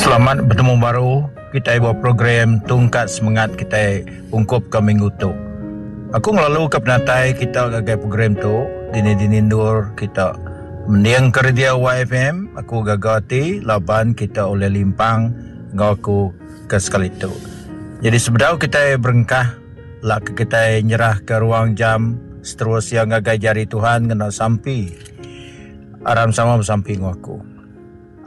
Selamat betemu baru kitai ba program Tungkat Semengat kitai ungkup ke minggu tu. Aku ngelalu ke penatai kita ngagai program tu dini-dini endur kita mending ke radio YFM. Aku gaga ati laban kita ulih limpang enggau aku ke sekali tu. Jadi sebedau kitai berengkah lak ke kitai nyerah ke ruang jam seterus iya ngagai jari Tuhan ngena sampi. Aram sama besampi enggau aku.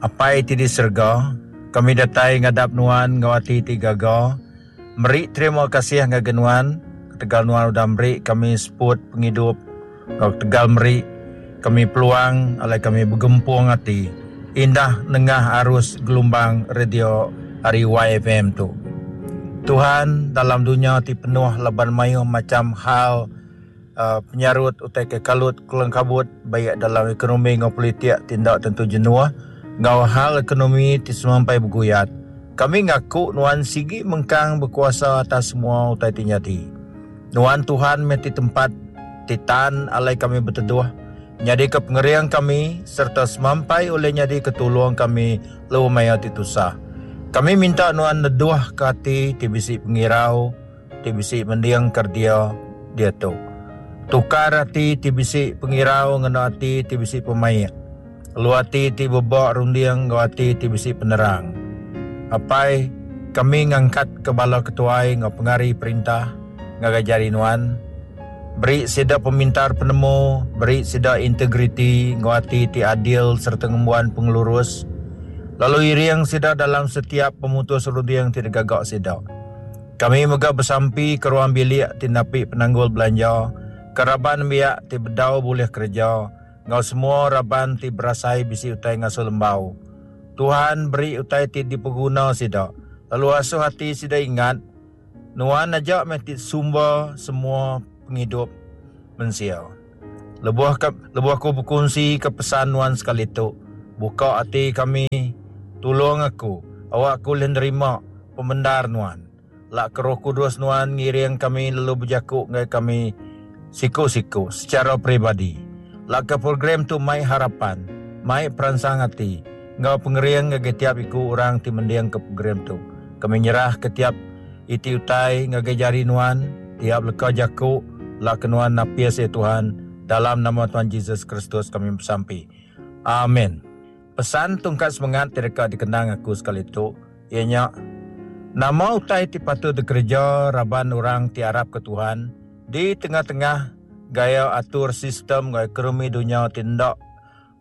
Apai ti di serega, kami datai ngadap Nuan enggau ati ti gaga, meri terima kasih ngagai Nuan ketegal Nuan udah meri kami seput pengidup enggau ketegal meri kami peluang alai kami begempung ati indah nengah arus gelumbang radio ari YFM tu. Tuhan, dalam dunya ti penuh laban mayuh macham hal, Penyarut utai ke kalut kelengkabut baik dalam ekonomi enggau politik ti enda tentu jenuh enggau hal ekonomi ti semampai beguyat, kami ngaku nuan sigi mengkang bekuasa atas semua utai ti nyadi. Nuan Tuhan meh ti tempat ti tan alai kami beteduh, nyadika pengering kami sereta semampai ulih nyadika tulung kami lebuh maya ti tusah. Kami minta nuan neduhka ati ti bisi pengirau, ti bisi mending keredia diatu. Tukar ati ti bisi pengirau ngena ati ti bisi pemaik, lalu ati ti beba runding enggau ati ti bisi penerang. Apai, kami ngangkatka bala ketuai enggau pengari perintah ngagai jari Nuan. Beri sida pemintar penemu, beri sida integriti enggau ati ti adil sereta ngembuan pengelurus, lalu iring sida dalam setiap pemutus runding ti digaga sida. Kami mega besampi ke ruang bilik ti napi penanggul belanja, ke raban nembiak ti bedau bulih kereja enggau semua raban ti berasai bisi utai ngasuh lembau. Tuhan beri utai ti dipeguna sida, lalu asuh ati sida ingat, Nuan aja meh ti sumber semua pengidup mensia. Lebuh ke lebuh aku bekunsi ke pesan nuan sekali tu, buka ati kami, tulung aku, awak aku ulih nerima pemendar nuan. Lak ke Roh Kudus nuan ngiring kami lalu bejaku ngagai kami siku-siku secara peribadi. Lak ke program tu mai harapan, mai peransang ati enggau pengering ngagai tiap iku orang ti mending ke program tu. Kami nyerah ke tiap iti utai ngagai jari nuan, tiap leka jaku lak ke nuan napis iya Tuhan, dalam nama Tuhan Jesus Kristus kami besampi. Amen. Pesan tungkat semengat ti deka dikenang aku sekali tu iya nya, nama utai ti patut dikereja raban orang ti arapka Tuhan di tengah-tengah gaya atur sistem enggau ekonomi dunya ti enda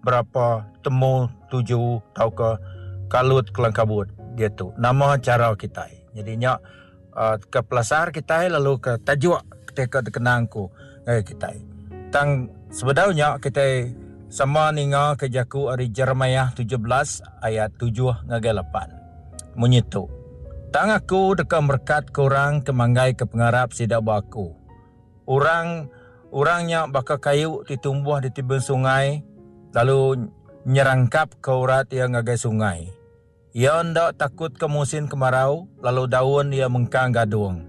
berapa temu tuju tauka kalut kelangkabut diatu. Nama chara kitai? Nyadi nya ke pelasar kitai lalu ke tajuk ti ka dikenang ku ngagai kitai. Tang sebedau nya kitai sama ninga ke jaku ari Jeremiah 17 ayat 7 ngagai 8. Munyi tu, Tang aku deka merekatka orang ke manggaika pengarap sida ba aku. Orang orang nya baka kayu ti tumbuh di tebing sungai lalu nyerangkapka urat iya ngagai sungai. Iya enda takutka musin kemarau, lalu daun iya mengkang gadung.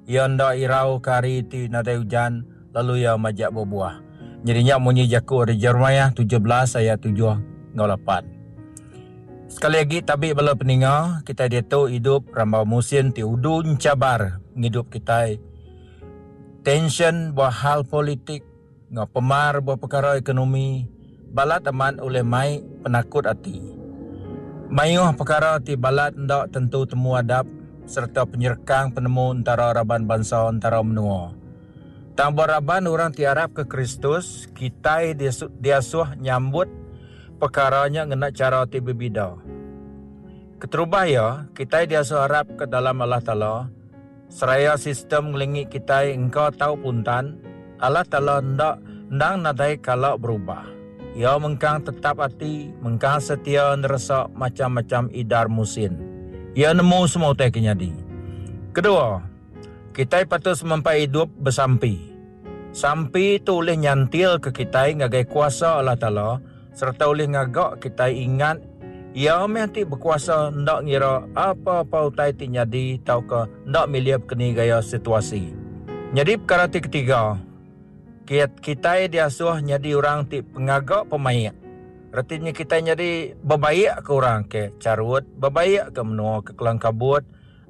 Iya enda irauka hari ti nadai ujan, lalu iya majak bebuah. Nyadi nya munyi jaku ari Jeremiah 17 ayat 7 enggau 8. Sekali agi tabi bala peninga, kitai diatu idup rambau musin ti udu enchabar ngidup kitai. Tensyen ba hal politik enggau pemar ba pekara ekonomi balat amat ulih mai penakut ati. Mayuh pekara ti balat enda tentu temu adap sereta penyerekang penemu entara raban bansa entara menua. Tang ba raban orang ti arapka Kristus, kitai diasuh nyambut pekara nya ngena chara ti bebida. Keterubah iya, kitai diasuh arapka dalam Allah Taala, Seraya sistem ngelingi kitai engka tau puntan, Allah Taala enda endang nadai kala berubah. Iya mengkang tetap ati, mengkang setia neresa macham-macham idar musin. Iya nemu semua utai ke nyadi. Kedua, kitai patut semampai idup besampi. Sampi tu ulih nyantilka kitai ngagai kuasa Allah Taala sereta ulih ngaga kitai ingat Iya meh ti bekuasa enda ngira apa-apa utai ti nyadi tauka enda milih bekeni gaya situasi. Nyadi pekara ti ketiga, kitai diasuh nyadi orang ti pengaga pemaik. Reti nya kitai nyadi bebaik ke orang ke charut, bebaik ke menua ke kelang kabut,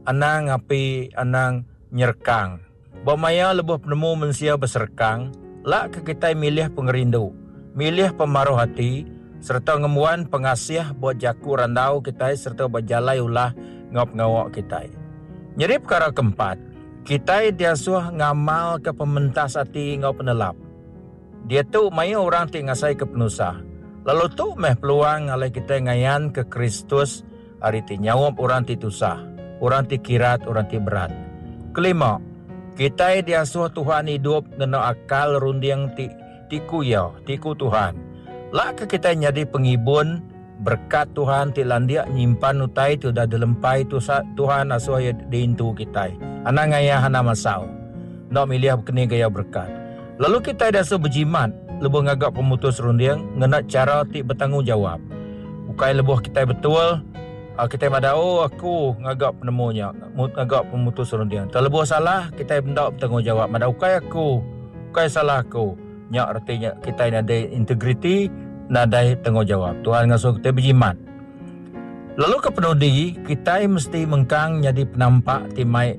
anang api anang nyerekang. Ba maya lebuh penemu mensia beserekang, lak ke kitai milih pengerindu, milih pemaruh ati sereta ngembuan pengasih ba jaku randau kitai sereta ba jalai ulah enggau pengawa kitai. Nyadi pekara keempat, kitai diasuh ngamalka pementas ati enggau penelap. Diatu mayuh orang ti ngasaika penusah, lalu tu meh peluang alai kitai ngayanka Kristus ari ti nyaup orang ti tusah, orang ti kirat, orang ti berat. Kelima, kitai diasuh Tuhan idup ngena akal runding ti ti ku Iya, ti ku Tuhan. Lak ke kitai nyadi pengibun berekat Tuhan ti landik nyimpan utai ti udah dilempai Tuhan asuh Iya diintu kitai. Anang ngayah anang masau. Enda milih bekeni gaya berekat. Lalu kitai diasuh bejimat lebuh ngaga pemutus runding ngena chara ti betanggungjawap. Ukai lebuh kitai betul, kitai madah oh aku ngaga penemu nya, ngaga pemutus runding. Tang lebuh salah kitai enda betanggungjawap madah ukai aku, ukai salah aku. Nya reti nya kitai nadai integriti, nadai tanggungjawap. Tuhan ngasuh kitai bejimat. Lalu ke penudi, kitai mesti mengkang nyadi penampak ti mai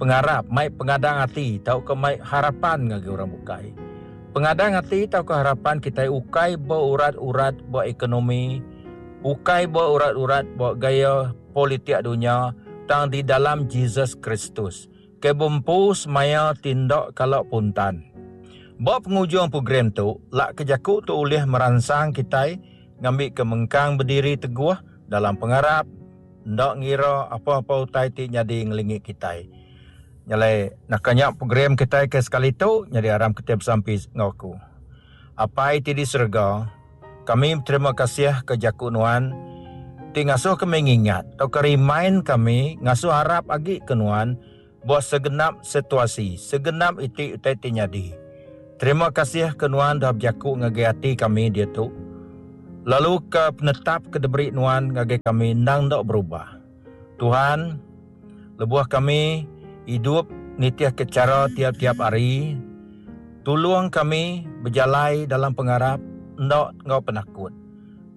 pengarap, mai pengadang ati tauka mai harapan ngagai orang bukai. Pengadang ati tauka harapan kitai ukai beurat-urat ba ekonomi, ukai beurat-urat ba gaya politik dunya tang di dalam Jesus Kristus ke bempu semaya ti enda kala puntan. Ba pengujung program tu, lak ke jaku tu ulih meransang kitai ngambika mengkang bediri teguh dalam pengarap, enda ngira apa-apa utai ti nyadi ngelingi kitai. Nya alai naka nya program kitai ke sekali tu nyadi aram kitai besampi enggau aku. Apai ti di serega, kami beterima kasih ke jaku nuan ti ngasuh kami ngingat tauka remind kami ngasuh arap agi ke nuan ba segenap situasi, segenap iti utai ti nyadi. Terima kasih ke nuan dah bejaku ngagai ati kami diatu, lalu ke penetap ke diberi nuan ngagai kami endang enda berubah. Tuhan, lebuh kami idup nitihka chara tiap-tiap hari, tulung kami bejalai dalam pengarap enda enggau penakut.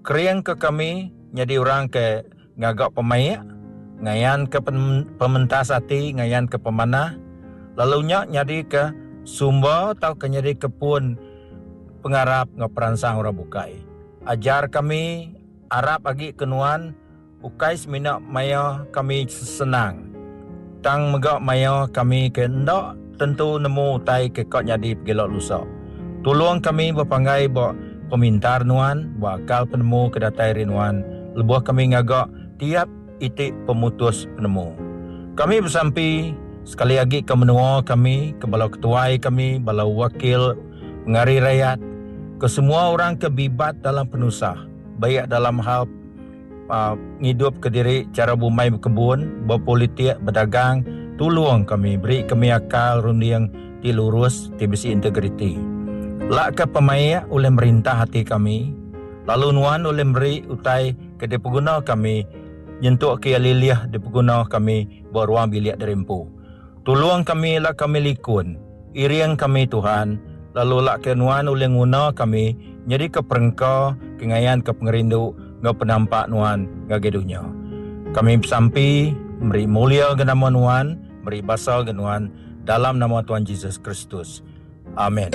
Keringka kami nyadi orang ke Ngaga pemaik, ngayanka pementas ati, ngayanka pemanah, lalu nya nyadika sumber tauka nyadika pun pengarap enggau peransang orang bukai. Ajar kami arap agi ke nuan ukai semina maya kami senang, tang mega maya kami ke enda tentu nemu utai ke ka nyadi pegila lusa. Tulung kami bepanggai ba pemintar nuan, ba akal penemu ke datai ari nuan lebuh kami ngaga tiap iti pemutus penemu. Kami besampi sekali agi ke menua kami, ke bala ketuai kami, bala wakil pengari rayat, ke semua orang ke bibat dalam penusah, baik dalam hal ngidupka diri chara bumai bekebun, bepolitik, bedagang, tulung kami, beri kami akal runding ti lurus ti bisi integriti. Lakka pemaik ulih merintah ati kami, lalu nuan ulih meri utai ke dipeguna kami nyentukka iya lilih dipeguna kami ba ruang bilik diri empu. Tulung kami lak kami likun, iring kami Tuhan, lalu lak ke nuan ulih nguna kami nyadika perengka ke ngayanka pengerindu enggau penampak nuan ngagai dunya. Kami besampi meri mulia ga nama nuan, meri basa ga nuan dalam nama Tuhan Jesus Kristus. Amen.